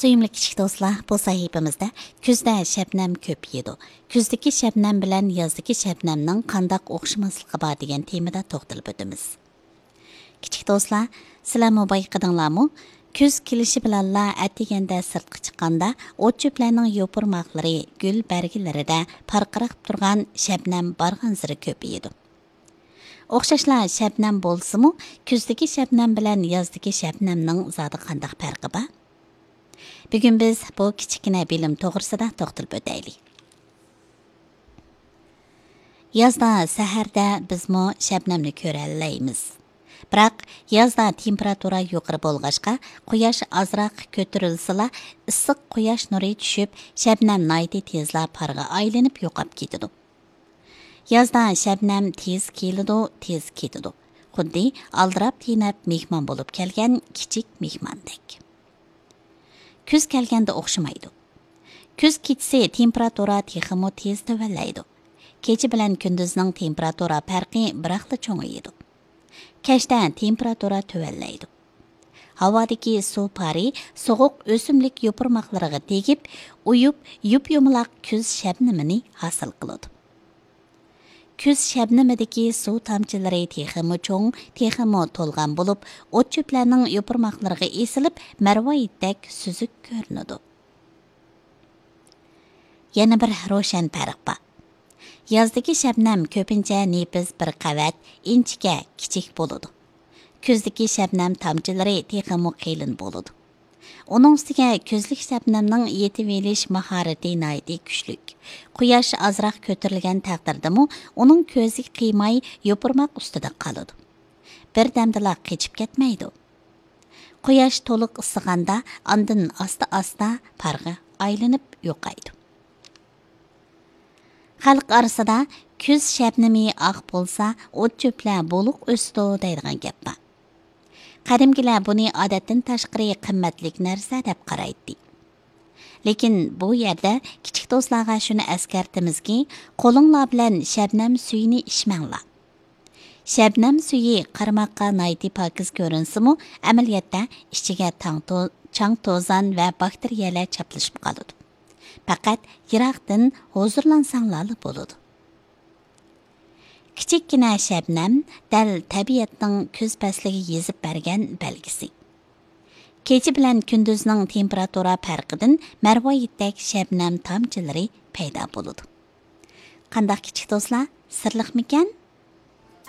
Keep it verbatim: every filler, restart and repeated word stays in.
سۆيۈملۈك كىچىك دوستلار، بۇ سەھىپىمىزدە كۈزدە شەبنەم كۆپىيىدۇ، كۈزدىكى شەبنەم بىلەن يازدىكى شەبنەمنىڭ قانداق ئوخشىماسلىقى بار دېگەن تېمىدا توختىلىپ ئۆتىمىز. كىچىك دوستلار، سىلەرمۇ بايقىدىڭلارمۇ؟ كۈز كېلىشى بىلەنلا ئەتىگەندە سىرتقا چىققاندا، ئوت-چۆپلەرنىڭ يوپۇرماقلىرى گۈل بەرگىلىرىدە پارقىراپ تۇرغان شەبنەم بارغانسېرى كۆپىيىدۇ. ئوخشاشلا شەبنەم بولسىمۇ، كۈزدىكى شەبنەم بىلەن يازدىكى شەبنەمنىڭ زادى قانداق پەرقى بار؟ بۈگۈن بىز بۇ كىچىككىنە بىلىم توغرىسىدا توختىلىپ ئۆتەيلى. يازدا سەھەردە بىزمۇ شەبنەمنى كۆرەلەيمىز. بىراق، يازدا تېمپېراتۇرا يۇقىرى بولغاچقا، قۇياش ئازراق كۆتۈرۈلسىلا، ئىسسىق قۇياش نۇرى چۈشۈپ، شەبنەم ناھايىتى تېزلا پارغا ئايلىنىپ يوقاپ كېتىدۇ. يازدا شەبنەم تېز كېلىدۇ، تېز كېتىدۇ. خۇددى ئالدىراپ تېنەپ مېھمان بولۇپ كەلگەن كىچىك مېھماندەك. كۈز كەلگەندە ئوخشىمايدۇ. كۈز كېچىسى تېمپېراتۇرا تېخىمۇ تېز تۆۋەنلەيدۇ. كېچە بىلەن كۈندۈزنىڭ تېمپېراتۇرا پەرقى بىراقلا چوڭىيىدۇ. كەچتە تېمپېراتۇرا تۆۋەنلەيدۇ. ھاۋادىكى سۇ پارى سوغۇق ئۆسۈملۈك يوپۇرماقلىرىغا تېگىپ، ئۇيۇپ، يۇپيۇمىلاق كۈز شەبنىمىنى ھاسىل قىلىدۇ. كۈز شەبنىمىدىكى سۇ تامچىلىرى تېخىمۇ چوڭ، تېخىمۇ تولغان بولۇپ، ئوت-چۆپلەرنىڭ يوپۇرماقلىرىغا ئېسىلىپ، مەرۋايىتتەك سۈزۈك كۆرۈنىدۇ. يەنە بىر روشەن پەرق بار. يازدىكى شەبنەم كۆپىنچە نېپىز بىر قەۋەت، ئىنچىكە، كىچىك بولىدۇ. كۈزدىكى شەبنەم تامچىلىرى تېخىمۇ قېلىن بولىدۇ. ئۇنىڭ ئۈستىگە كۈزلۈك شەبنەمنىڭ يېتىۋېلىش ماھارىتى ناھايىتى كۈچلۈك. قۇياش ئازراق كۆتۈرۈلگەن تەقدىردىمۇ، ئۇنىڭ كۆزى قىيماي يوپۇرماق ئۈستىدە قالىدۇ. بىردەمدىلا قېچىپ كەتمەيدۇ. قۇياش تولۇق ئىسسىغاندا، ئاندىن ئاستا-ئاستا پارغا ئايلىنىپ يوقايدۇ. خەلق ئارىسىدا «كۈز شەبنىمى ئاق بولسا، ئوت-چۆپلەر بولۇق ئۆسىدۇ» دەيدىغان گەپ بار. قەدىمكىلەر بۇنى ئادەتتىن تاشقىرى قىممەتلىك نەرسە دەپ قارايتتى. لېكىن بۇ يەردە كىچىك دوستلارغا شۇنى ئەسكەرتىمىزكى، قولۇڭلار بىلەن شەبنەم سۈيىنى ئىچمەڭلار. شەبنەم سۈيى قارىماققا ناھايىتى پاكىز كۆرۈنسىمۇ، ئەمەلىيەتتە ئىچىگە تاڭ تو-، چاڭ توزان ۋە باكتېرىيەلەر چاپلىشىپ قالىدۇ. پەقەت يىراقتىن ھۇزۇرلانساڭلارلا بولىدۇ. كىچىككىنە شەبنەم دەل تەبىئەتنىڭ كۈز پەسلىگە يېزىپ بەرگەن بەلگىسى. كېچە بىلەن كۈندۈزنىڭ تېمپېراتۇرا پەرقىدىن مەرۋايىتتەك شەبنەم تامچىلىرى پەيدا بولىدۇ. قانداق كىچىك دوستلار، سىرلىقمىكەن؟